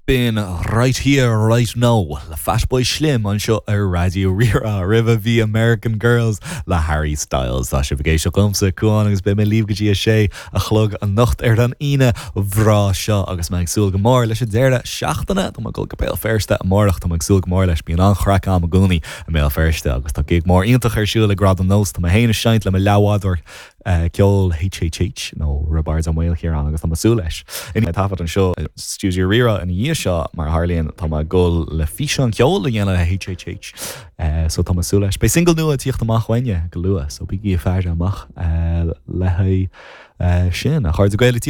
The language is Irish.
B'in Right Here Right Now le Fatboy Slim anseo ar Raidió Rí-Rá. Roimhe bhí American Girls le Harry Styles. Tá sibh ag éisteacht liomsa, Cuán, agus beidh mé libh go dtí a sé a chlog anocht ar an Aoine bhreá seo agus mé ag súil go mór leis an deireadh seachtaine. Tá mé ag dul go Béal Feirste amárach, tá mé ag súil go mór leis. Bíonn an-chraic a'm i gcónaí i mBéal Feirste agus tá gig mór iontach ar siúl ag Gradam Nós. Tá mé féin ag seinnt le mo leathbhádóir ceoil HHH nó Roibeárd Ó Maoilchiaráin agus tá mé ag súil leis. I ndiaidh taifead anseo i stiúideo Rí-Rá ina dhiaidh seo, mar a tharlaíonn, tá mé ag dul le físeán ceoil a dhéanamh le HHH so tá mé ag súil leis. Beidh single nua ag tíocht amach uainne go luath so bígí ag faire amach le haghaidh sin. A chairde Gael.